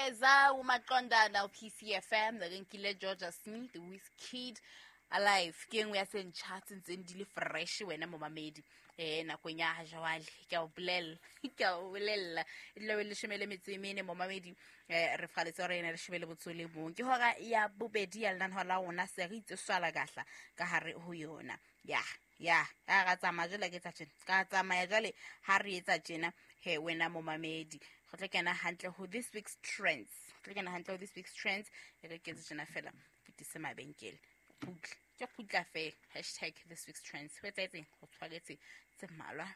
Molaetsa o maqondana o PCFM re nkile Georgia Smith, Wizkid, Alive. Ke engwe ya tse ntjha tse ntseng di le fresh, wena momamedi. Nakong ya jwale ke a o bolella, ke a o bolella, e dula 14, momamedi. Re faletse hore ena 11, ke hora ya bobedi ya lenaneo la rona. Se re itse swala kahla ka hare ho yona. Ya ka ra tsamaya jwale, ke etsa tjena, ka tsamaya jwale. Ha re etsa tjena he, wena momamedi, re tlo kena hantle ho this week's trends, re tlo kena hantle ho this week's trends. E re ke etse tjena fela, fetise mabenkele, kgutle, ke kgutla fela. #ThisWeek'sTrends, ho etsahetseng, ho tshwaretse tse mmalwa.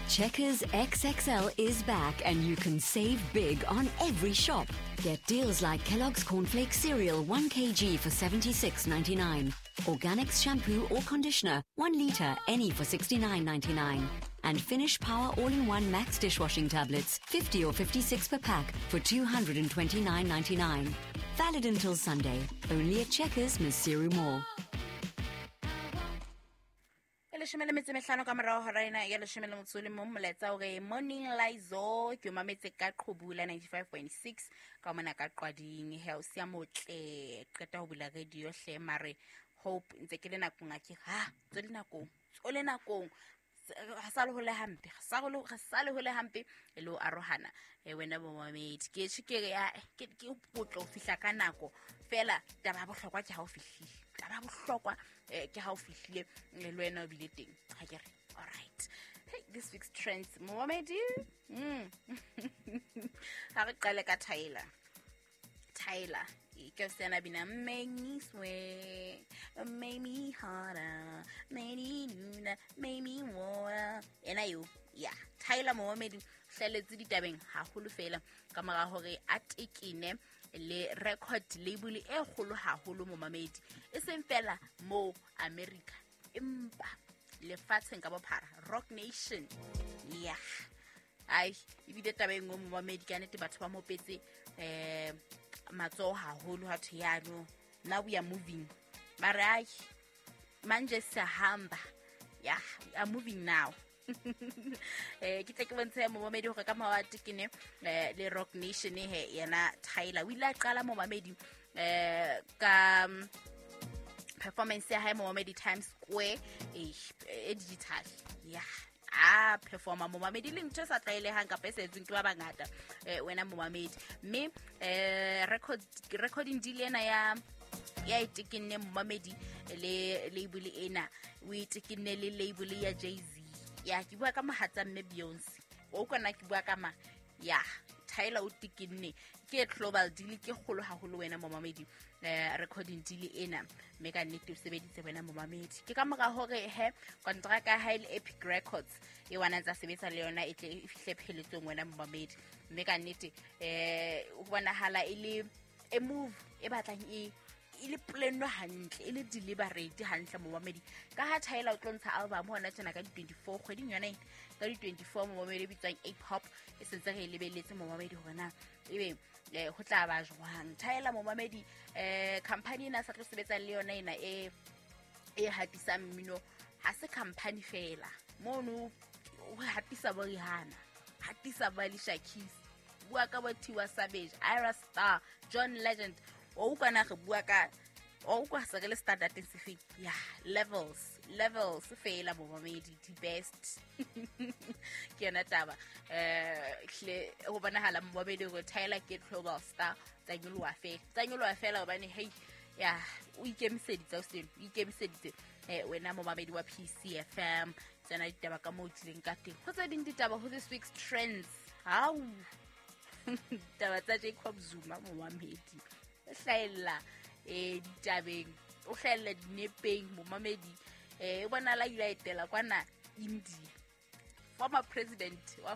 Checkers XXL is back and you can save big on every shop. Get deals like Kellogg's Cornflakes cereal 1 kg for 76.99, Organics shampoo or conditioner 1 liter any for 69.99, and Finish Power All-in-One Max dishwashing tablets 50 or 56 per pack for 229.99. Valid until Sunday. Only at Checkers, Maseru Mall. E 15 ka morao hora ena ya 11. Molaetsa o re, "Morning Lizo, ke o mametse ka qhubu la 95.6 ka mona ka Qwading. He o sia motle, qeta ho bula radio hle, mare hope ntse ke le nakong." A ke ha tse le nakong, tso le nakong, ga sa le hole hampe, ga sa le hole hampe e le o arohana. Wena momamedi, ke tjhe ke re ya ke potlo ho fihla ka nako fela. Taba ya bohlokwa ke ha o fihlile, taba ya bohlokwa ke ha o fihlile, le wena o bile teng, ha ke re? Alright, hey, this week's trends, momamedi. Ha re qale ka Tyla. Tyla ke sena bina "Make Me Sweat, Make Me Harder, Make Me Luna, Make Me Water" ena eo ya Tyla, momamedi, hlahelletse ditabeng haholo fela ka mora hore a tekene le record label e kgolo haholo, momamedi, e seng fela mo America empa lefatsheng ka bophara, Roc Nation. Yeah, ai, ebile taba e nngwe, momamedi, ka nete batho ba mopetse matsoho haholo. Ha thwe yano, now we are moving, ba re ai, manje siyahamba. Yeah, we are moving now. Ke tle ke bontshe, momamedi, hore ka mora tekene le Roc Nation he, yena Tyla o ile a qala, momamedi, ka performance ya hae, momamedi, Times Square e digital. Yeah, a performa, momamedi, le ntho e sa tlwaelehang kapa e sa etsweng ke ba bangata, wena momamedi. Mme recording deal ena ya e tekenne, momamedi, le label ena, o e tekenne le label ya Jay-Z. Ya, ke bua ka mohatsa mme Beyonce, o kona ke bua ka ma ya Tyla o tekenne ke global deal, ke kgolo haholo, wena momamedi, recording deal ena. Mme ka nnete o sebeditse, wena momamedi. Ke ka mora hore he kontraka ya hae le Epic Records e wana ntsa sebetsa le yona e tle e fihle pheletsong, wena momamedi. Mme ka nnete ho bonahala e le e move e batlang e le plannwe hantle, e le deliberate hantle, momamedi, ka ha Tyla o tlo ntsha album hona tjena ka di-24 kgweding yona ena, ka di-24, momamedi, e bitswang Ape Hop. E sentse re e lebelletse, momamedi, hore na ebe ho tla ba jwang. Tyla, momamedi, company ena a sa tlo sebetsa le yona ena e hatisang mmino, ha se company fela mono, o hatisa bo Rihanna, hatisa bo Alicia Keys, bua ka bo Tiwa Savage, Ayra Starr, John Legend. O utlwa na re bua ka, o utlwa se re le standardeng sefeng ya levels, levels fela, momamedi, di best. Ke yona taba. Hle ho bonahala, momamedi, hore Tyla ke global star, tsa nyoloha fela, tsa nyoloha fela, hobane hey, ya, o ikemiseditse, o seno o ikemiseditse. Wena momamedi wa PCFM, tsena ditaba ka moo tlileng ka teng. Ho tse ding ditaba ho this week's trends, hau, ditaba tsa Jacob Zuma, momamedi, o hlahella ditabeng, o hlahella dinepeng, momamedi. E bonala ile a etela kwana India, former president wa